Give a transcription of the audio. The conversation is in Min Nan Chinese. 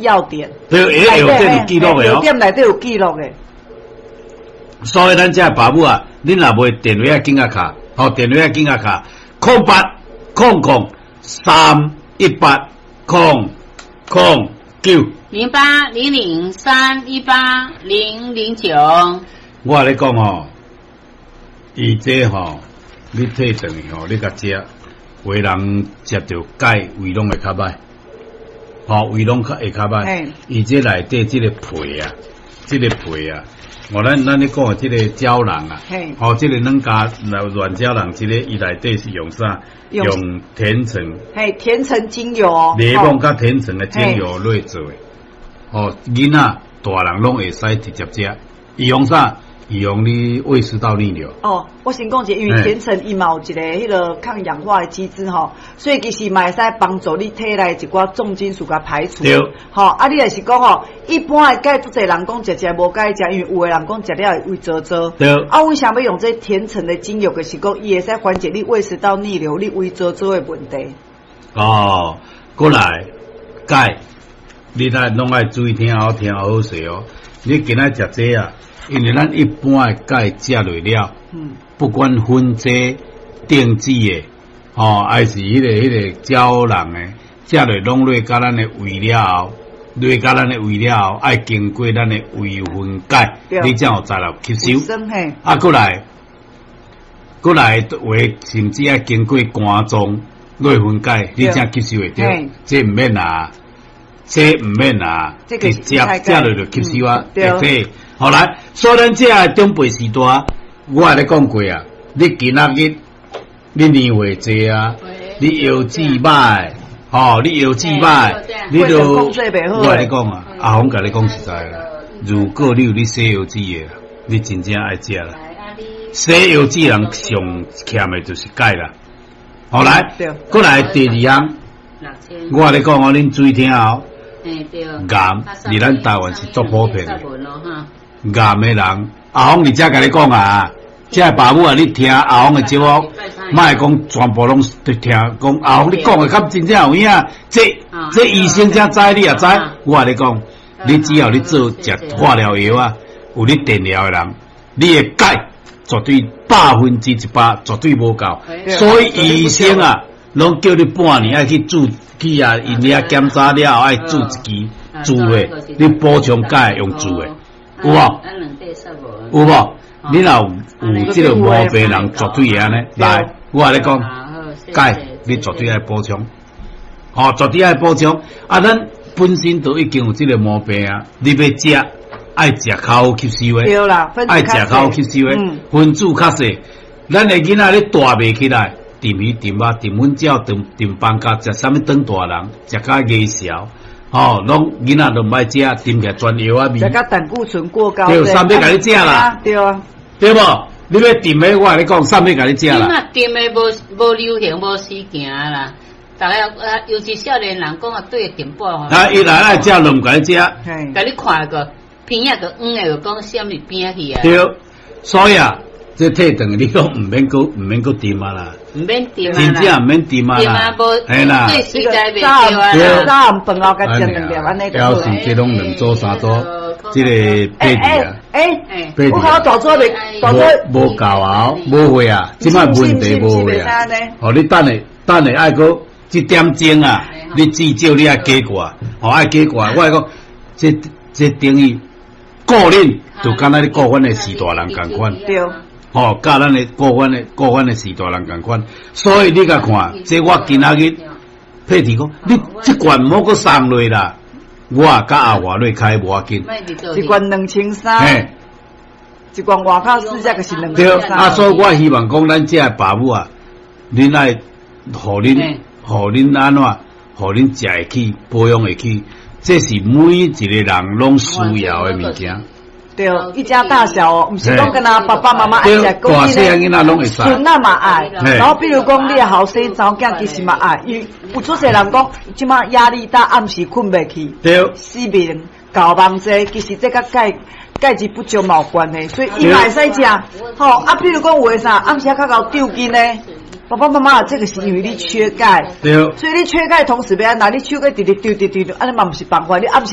藥典。對，藥典有記錄的哦。藥店內底有記錄的。所以咱這爸母啊，恁若無電話啊，緊仔敲，吼，電話啊，緊仔敲，0800318009。0800318009。我共你講吼，伊這吼，你退轉去吼，你共食，有的人食著鈣，胃攏會較歹，吼，胃攏較會較歹。伊這內底這個皮啊，這個皮啊，哦，咱咧講的這個膠囊啊，吼，這個軟膠軟膠囊，這個伊內底是用啥？用甜橙。嘿，甜橙精油。檸檬佮甜橙的精油來做的。吼，囡仔、大人攏會使直接食。伊用啥？預防你胃食道逆流。哦，我先講一下，因為甜橙伊嘛有一个彼个抗氧化的機制吼，所以其實嘛會使幫助你體內一寡重金屬共排除。對。吼，啊，你若是講吼，一般的鈣足濟人講食食無介食，因為有的人講食了會胃燥燥。對。啊，為啥欲用這甜橙的精油？就是講伊會使緩解你胃食道逆流、你胃燥燥的問題。哦，過來鈣，你來攏愛注意聽好聽好勢哦。你今仔食這啊？因為咱一般的鈣食落了，不管粉劑、錠劑的，吼，還是彼個膠囊的，食落攏落到咱的胃了後，落到咱的胃了後，愛經過咱的胃分解，你才有才能吸收。啊，過來，過來話，甚至愛經過肝臟落分解，你才吸收會著。這毋免啊，這毋免啊，直接食落就吸收啊，對。好來，所以咱這个長輩時代，我共你講過啊，你今仔日你年歲濟啊，你腰子歹，吼，你腰子歹，你就我共你講啊，阿紅共你講實在啦，如果你有咧洗腰子的，你真正愛食啦。洗腰子人上欠的就是鈣啦。好來，過來第二項，我共你講哦，恁注意聽哦。岩佇咱台灣是足普遍的。癌的人，阿峰佇遮共你講啊，這爸母啊，你聽阿峰的節目，莫講全部攏聽，講阿峰你講的敢真正有影？這醫生才知，你也知。我共你講，你只要你做食化療藥啊，有咧電療的人，你的鈣絕對100%絕對無夠，所以醫生啊，攏叫你半年愛去注去啊，𪜶遐檢查了後愛注一支注的，你補充鈣用注的。有無？有無？你若有這個毛病人，絕對會按呢。來，我共你講，鈣你絕對愛補充，吼，絕對愛補充。啊，咱本身都已經有這個毛病啊，你欲食，愛食較好吸收的，愛食較好吸收的，分子較細。咱的囡仔咧大袂起來，甜魚甜肉甜粉鳥甜甜放假，食啥物長大人，食甲牙潲。吼，攏囡仔都毋愛食，甜起來全藥仔味。食甲膽固醇過高。對，啥欲共你食啦？對啊。對無？你欲甜的，我共你講，啥欲共你食啦？這馬甜的無流行，無時行啦。逐个啊，尤其少年人講啊，對甜粿吼。啊，伊來愛食，攏毋共你食。共你看個邊仔個黃的，就講啥物邊仔去啊？對，所以啊。這退轉你講毋免閣毋免閣甜啊啦，毋免甜啊啦，真正毋免甜啊啦，嘿啦，早暗早暗飯後共食兩粒按呢就好。表示這攏兩組三組，這個配置啊，欸，我看大組袂，大組無夠啊，無會啊，這擺問題無會啊。哦，你等下等下愛閣這點鐘啊，你至少你愛加掛，哦愛加掛。我講這這等於顧恁，就敢若你顧阮的序大人仝款。對。吼，佮咱的顧阮的顧阮的序大人仝款，所以你共看，這我今仔日佩蒂講，你這罐毋好閣送落啦，我佮阿華落開無要緊。一罐2300，一罐外口四只就是兩千三。對，啊，所以我希望講，咱這个爸母啊，恁愛予恁，予恁按怎，予恁食會起，保養會起，這是每一個人攏需要的物件。對，一家大小哦，毋是講干焦爸爸媽媽愛食，大細囡仔攏會使，孫仔嘛愛。然後比如講你的後生查某囝其實嘛愛，因為有足濟人講，這馬壓力大，暗時睏袂去，失眠、搞夢這，其實這佮鈣鈣質不足嘛有關係，所以伊嘛會使食。吼，啊，比如講有的啥，暗時仔較𠢕抽筋呢，爸爸媽媽，這個是因為你缺鈣，所以你缺鈣同時欲按怎，你手閣直直丟直直丟，按呢嘛毋是辦法，你暗時。